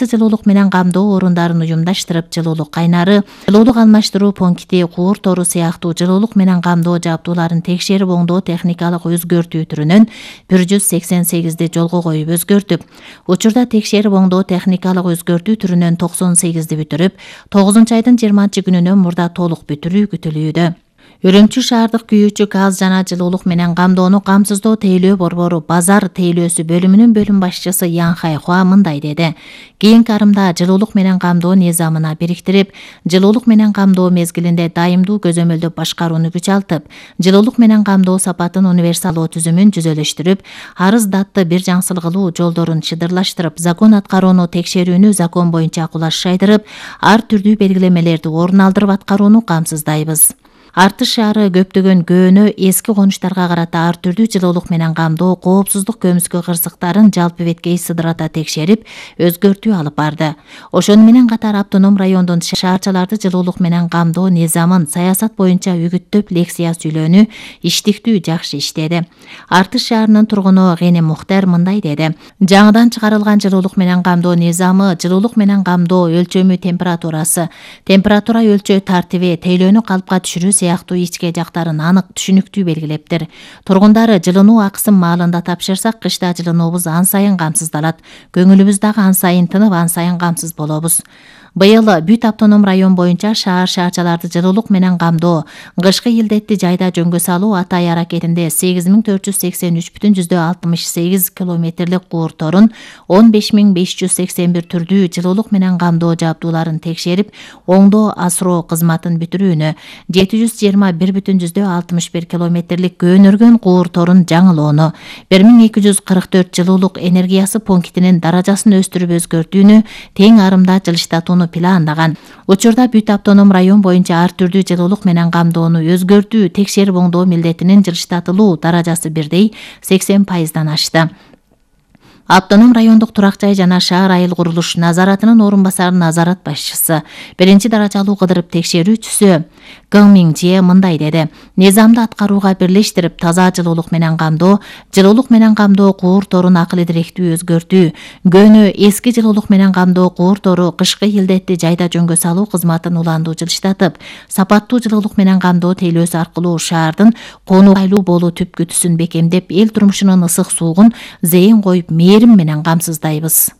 жылуулук менен камдоо орундарын уюмдаштырып, жылуулук кайнары, жылуулук алмаштыруу пункти, куур тору сыяктуу жылуулук менен камдоо жабдууларын текшерип оңдоо техникалык өзгөртүү түрүнөн 188 жолго коюп өзгөртүп, учурда текшерип оңдоо техникалык өзгөртүү түрүнөн 98 бүтүрүп, 9 айдын 20-күнүнөн мурда толук бүтүрүү күтүлүүдө. Үрүмчү шаардык күйүүчү газ жана жылуулук менен камдоону камсыздоо тейлөө борбору базар тейлөөсү бөлүмүнүн бөлүм башчысы Ян Хайхуа мындай деди. Кийинки арымда жылуулук менен камдоо низамына бириктирип, жылуулук менен камдоо мезгилинде дайымдуу көзөмөлдөп башкарууну күчалтып, жылуулук менен камдоо сапатын универсалдоо түзүмүн жүзөлөштүрүп, арыз датты бир жаңсыл кылуу жолдорун чыдырлаштырып, закон аткарууну текшерүүнү закон боюнча кулаш жайдырып, ар түрдүү белгилемелерди орун алдырып аткарууну камсыздайбыз. Артыш шаары көптөгөн көөнө эски конуштарга карата ар түрдүү жылуулук менен камдоо коопсуздук көмүскө кырсыктарын жалпы беткей сыдырата текшерип, өзгөртүү алып барды. Ошону менен катар автоном райондун шаарчаларды жылуулук менен камдоо низамын саясат боюнча үгүттөп лекция сүйлөөнү иштиктүү жакшы иштеди. Артыш шаарынын тургуну Гени Мухтар мындай деди. Жаңыдан чыгарылган жылуулук менен камдоо низамы жылуулук менен камдоо өлчөмү температурасы, температура өлчөө тартиби, тейлөөнү калыпка түшүрүү сыяктуу ичке жактарын анык түшүнүктүү белгилептир. Тургундары жылынуу акысым маалында тапшырсак, кышта жылынуубуз ан сайын камсыздалат. Көңүлүбүз дагы ан сайын тынып, ан сайын камсыз болобуз. Быйыл бүт автоном район боюнча шаарчаларды жылуулук менен камдоо, кышкы илдетти жайда жөнгө салуу атай аракетинде 8483,68 километрлик куур торун, 15581 түрдүү жылуулук менен камдоо жабдууларын текшерип, оңдоо асыроо кызматын бүтүрүүнү, 721,61 километрлик көөнөргөн куур торун жаңылоону, 1244 жылуулук энергиясы пунктинин даражасын өстүрүп өзгөртүүнү, тең арымда жылыштатууну пландаган. Учурда бүт автоном район боюнча ар түрдүү жылуулук менен камдоону өзгөртүү, текшерип оңдоо милдетинин жылыштатылуу даражасы бирдей 80%дан ашты. Автоном райондук турак жай жана шаар айыл курулуш назаратынын орун басары назарат башчысы, биринчи даражалуу кыдырып текшерүүчүсү Гың Минжие мындай деди. Низамды аткарууга бирлештирип, таза жылуулук менен камдоо, куур торун акыл идиректүү өзгөртүү, көөнө эски жылуулук менен камдоо куур тору кышкы илдетти жайда жөнгө салуу кызматын уландуу жылыштатып, сапаттуу жылуулук менен камдоо тейлөөсү аркылуу шаардын конуайлуу болуу түпкүтүсүн бекемдеп, эл турмушунун ысык суугун зейин коюп, менен камсыздайбыз.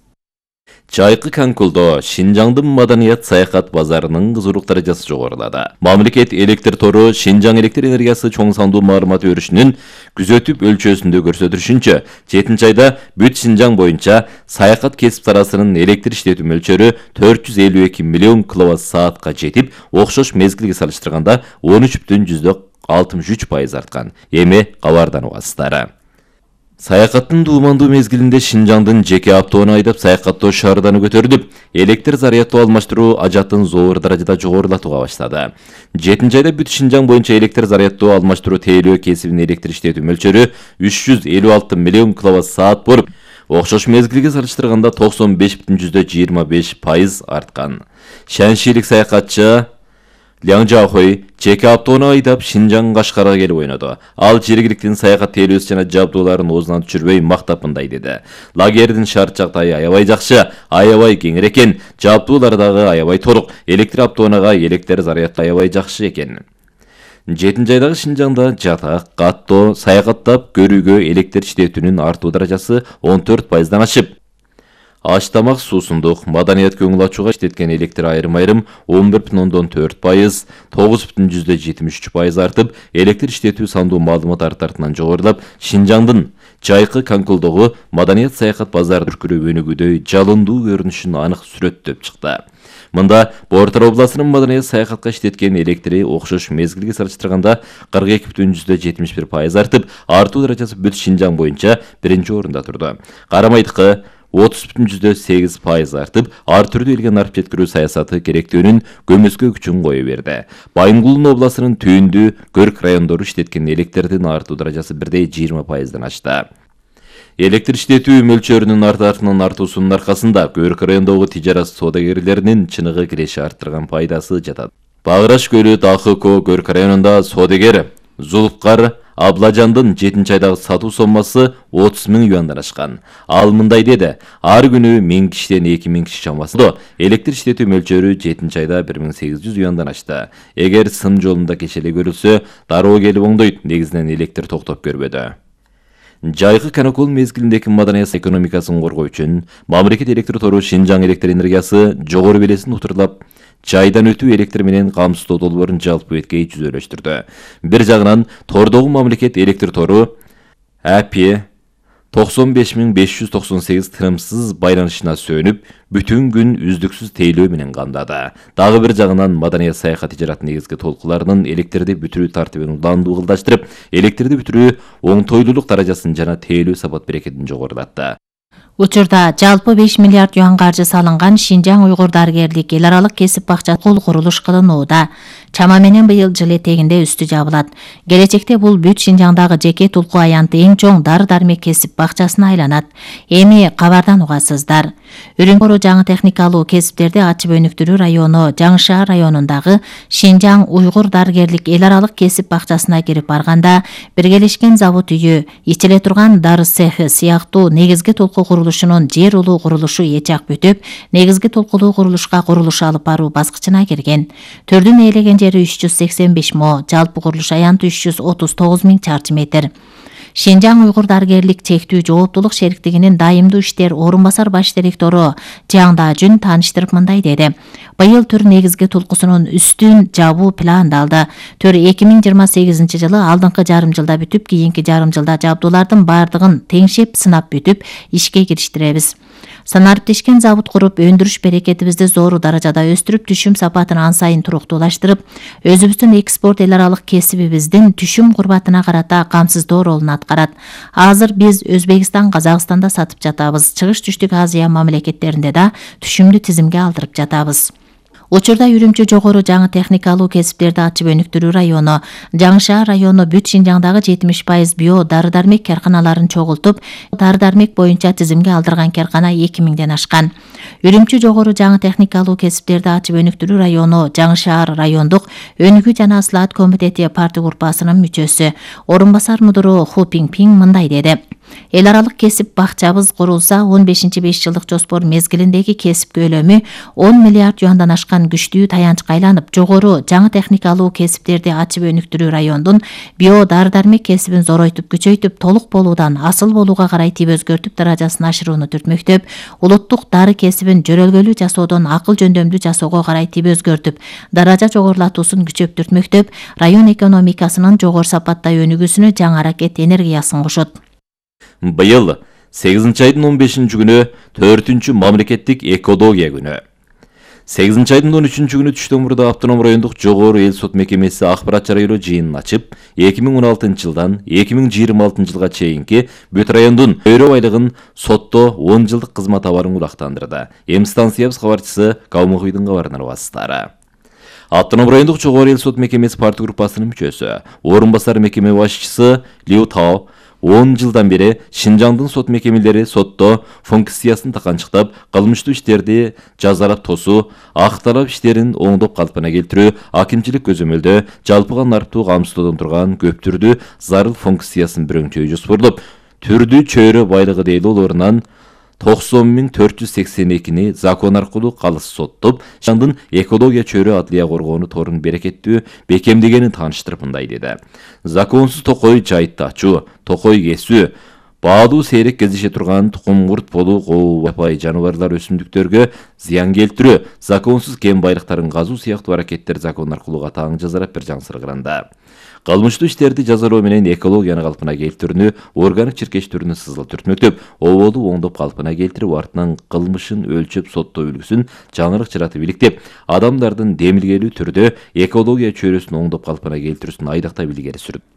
Жайкы Канкулдо Шинжаңдын маданият саякат базарынын кызуулук даражасы жогорулады. Мамлекет электр тору Шинжаң электр энергиясы чоң сандуу маарымат өрүшүнүн күзөтүп өлчөөсүндө көрсөтүшүнчө, 7-айда бүт Шинжаң боюнча саякат кесип сарасынын электр иштетүү мөлчөрү 452 миллион киловатт-саатка жетип, окшош мезгилге салыштырганда 13,63% арткан. Эми кабардан угасыздар. Саякаттын дуумандуу мезгилинде Шинжаңдын жеке автоону айдап саякаттоо шаарданы көтөрүлүп, электр зарядтоо алмаштыруу ажатын зоор даражада жогорулатууга баштады. 7-айда бүт Шинжаң боюнча электр зарядтоо алмаштыруу тейлөө кесибинин электр иштетүү мөлчөрү 356 миллион киловатт-саат болуп, окшош мезгилге салыштырганда 95,25% арткан. Шаншилик саякатчы Ляң Жахой жеке автоону айдап Шинжаң Кашкарга келип ойноду. Ал жергиликтин саякат тейлөөсү жана жабдууларын оозунан түшүрбөй мактап мындай деди. Лагердин шарт жагдайы аябай жакшы, аябай кеңир экен, жабдуулар дагы аябай толук, электр автоонага электр зарядты аябай жакшы экен. 7-айдагы Шинжаңда жатак, каттоо, саякаттап көрүүгө электр иштетүүнүн артуу даражасы 14%дан ашып, аш тамак, суусундук, маданият көңүл ачууга иштеткен электр айрым-айрым 11,4%, 9,73% артып, электр иштетүү сандуу маалымат артартынан жогорулап, Шинжаңдын жайкы Канкулдогу маданият саякат базары түркүрөп өнүгүүдөй жалындуу көрүнүшүн анык сүрөттөп чыкты. Мында Бортор областынын маданият саякатка иштеткен электри окшош мезгилге салыштырганда 42,71% артып, артуу даражасы бүт Шинжаң боюнча биринчи орунда турду. Карамайдыкы 30,8% артып, ар түрдүү элге нарып жеткирүү саясаты керектүүнүн көмүскө күчүн кое берди. Байынгулдун областынын түйүндүү Көрк райондору иштеткен электрдин артуу даражасы бирдей 20%дан ашты. Электр иштетүү мөлчөрүнүн артартынын артуусунун аркасында Көрк райондогу тижарат соодагерлеринин чыныгы киреши арттырган пайдасы жатат. Багыраш көлү ТАХК Көрк районунда соодагер Зулфкар Аблажандын 7-айдагы сатуу соммасы 30 000 юандан ашкан. Ал мындай деди: ар күнү 1000 кишиден 2000 киши чамасында электр иштетүү мөлчөрү 7-айда 1800 юандан ашты. Эгер сын жолунда кечеле көрүлсө, дароо келип оңдойт, негизинен электр токтоп көрбөдү. Жайкы каникул мезгилиндеги маданият экономикасын коргоо үчүн мамлекет электр тору Шинжаң электр энергиясы жогору белесин утурлап, жайдан өтүү электр менен камсыздоо долбоорун жалпы беткей жүзөлөштүрдү. Бир жагынан тордогу мамлекет электр тору АП 95598 тынымсыз байланышына сөнүп, бүтүн күн үздүксүз тейлөө менен камдады. Дагы бир жагынан маданият саяхат ижарат негизги толкуларынын электрди бүтүрүү тартибин уландуу кылдаштырып, электрди бүтүрүү оңтойлуулук даражасын жана тейлөө сапат берекетин жогорулатты. Учурда жалпы 5 миллиард юан каржы салынган Шинжаң уйгур дарыгерлик эл аралык кесип бакча курулуш кылынууда. Чама менен быйыл жыл этегинде үстү жабылат. Келечекте бул бүт Шинжаңдагы жеке тулку аянты эң чоң дары-дармек кесип бакчасына айланат. Эми кабардан угасыздар. Үрүнкөрү жаңы техникалуу кесиптерди ачып өнүктүрүү району Жаңы шаар районундагы Шинжаң уйгур дарыгерлик эл аралык кесип бакчасына кирип барганда, биргелешкен завод үйү, ичиле турган дары цехи сыяктуу негизги толку курулушунун жер улуу курулушу эчак бүтүп, негизги толкулуу курулушка курулуш алып баруу баскычына кирген. Төрдүн ээлеген жери 385 мо, жалпы курулуш аянты 339 000 чарчы метр. Шинжаң уйгур дарыгерлик чектүү жооптулук шериктигинин дайымдуу иштер орун басар баш директору Жаңда Жүн тааныштырып мындай деди: быйыл түр негизги толкусунун үстүн жабуу пландалды. Түр 2028 жылы алдыңкы жарым жылда бүтүп, кийинки жарым жылда жабдуулардын бардыгын теңшеп сынап бүтүп, ишке кириштиребиз. Санариптешкен завод куруп, өндүрүш берекетибизди зор даражада өстүрүп, түшүм сапатын ан сайын туруктуулаштырып, өзүбүздүн экспорт эл аралык кесибибиздин түшүм курбатына карата камсыздоо ролун аткарат. Азыр биз Өзбекстан, Казакстанда сатып жатабыз. Чыгыш Түштүк Азия мамлекеттеринде да түшүмдү тизимге алдырып жатабыз. Учурда Үрүмчү жогору жаңы техникалуу кесиптерди ачып өнүктүрүү району Жаңы шаар району бүт Шинжаңдагы 70% био дары-дармек карканаларын чогултуп, дары-дармек боюнча тизимге алдырган каркана 2000ден ашкан. Үрүмчү жогору жаңы техникалуу кесиптерди ачып өнүктүрүү району Жаңы шаар райондук өнүгүү жана ыслаат комитети партия группасынын мүчөсү, орун басар мудуру Ху Пиңпиң мындай деди: эл аралык кесип бакчабыз курулса, 15-5 жылдык жоспор мезгилиндеги кесип көлөмү 10 миллиард юандан ашкан күчтүү таянчка айланып, жогору жаңы техникалуу кесиптерди ачып өнүктүрүү райондун био дары-дармек кесибин зоройтуп, күчөйтүп, толук болуудан асыл болууга карай тип өзгөртүп даражасын ашырууну түртмөктөп, улуттук дары кесибин жөрөлгөлүү жасоодон акыл жөндөмдүү жасоого карай тип өзгөртүп, даража жогорулатуусун күчөп түртмөктөп, район экономикасынын жогору сапаттай өнүгүүсүнө жаңы аракет энергиясын кошот. Быйыл 8-айдын 15 күнү 4-чү мамлекеттик экология күнү. 8-айдын 13 күнү түштөн мурда автоном райондук жогору эл сот мекемеси акпарат жарыялоо жыйынын ачып, 2016 жылдан 2026 жылга чейинки бүт райондун өрө байлыгын сотто 10 жылдык кызмат абарын улактандырды. Эми станциябыз кабарчысы Калмыкыйдын кабарын аласыздар. Автоном райондук жогору эл сот мекемеси партия группасынын мүчөсү, орун басар мекеме башчысы Лиу Тао 10 жылдан бери Шинжаңдын сот мекемелери сотто функциясын таканчыктап, кылмыштуу иштерди жазалап тосуу, акталап иштерин оңдоп калпына келтирүү, акимчилик көзөмөлдөө, жалпыга нарптуу камсыздоодон турган көптүрдүү зарыл функциясын бирөңчөй жоспорлоп, түрдүү чөйрө байлыгы дейлүү орунан 90.482-ни закон аркылуу калыс соттоп, Шинжаңдын экология чөйрө адлия коргоону торун берекеттүү бекемдегенин тааныштырып мындай деди: законсуз токой жайытты ачуу, токой кесүү, баалуу сейрек кездеше турган тукум-курт болуу, жапайы жаныбарлар, өсүмдүктөргө зыян келтирүү, законсуз кен байлыктарын казуу сыяктуу аракеттер закон аркылуу катаң жазалап биржаң сыргыранда. Кылмыштуу иштерди жазалоо менен экологияны калпына келтирүүнү, органик чиркештүүнү сызыл түртмөктөп, оболду оңдоп калпына келтирип, артынан кылмышын өлчөп соттоо үлгүсүн жаңылык жаратып иликтеп, адамдардын демилгелүү түрдө экология чөйрөсүн оңдоп калпына келтирүүсүн айдактап илгери сүрүп,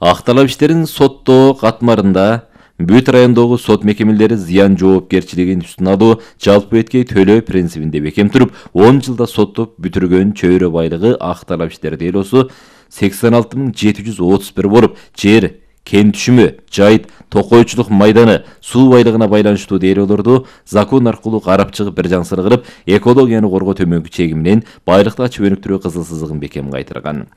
акталап иштерин соттоо катмарында бүт райондогу сот мекемелери зыян жоопкерчилигин үстүнө алуу, жалпы эткей төлөө принцибинде бекем туруп, 10 жылда соттоп бүтүргөн чөйрө байлыгы акталап иштер дейлосу 86.731 болуп, жер, кен түшүмү, жайыт, токойчулук майданы, суу байлыгына байланыштуу дейлоолорду закон аркылуу карап чыгып биржаң сыргырып, экологияны коргоо төмөнкү чеги менен байлыкты ачып өнүктүрүү кызыл сызыгын бекем кайтырган.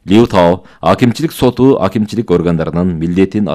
Лиу Тао акимчилик соту акимчилик органдарынын милдетин